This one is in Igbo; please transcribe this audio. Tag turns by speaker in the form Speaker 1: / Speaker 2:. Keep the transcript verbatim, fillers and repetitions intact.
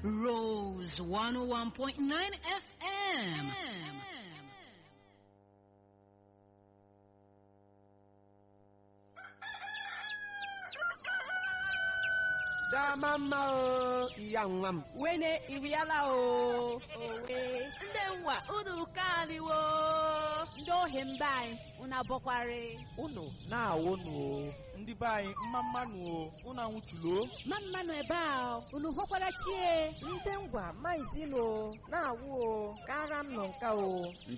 Speaker 1: Rose one oh one point nine F M.
Speaker 2: Dama mma o, iya nwa m.
Speaker 3: Wene iriala o, owe.
Speaker 4: Ndị nwa unu kaliwo.
Speaker 3: Ndị ohi mba anyị, unu abọkwarị.
Speaker 2: Unu na-awụ nụ o.
Speaker 5: Ndị be anyị, mma mmanụ o, unu anwụchulo.
Speaker 6: Mma mmanụ ebe a, unu hụkwara chie.
Speaker 7: Ndị ngwa maizilo na-awụ o, kara m nọ nka o.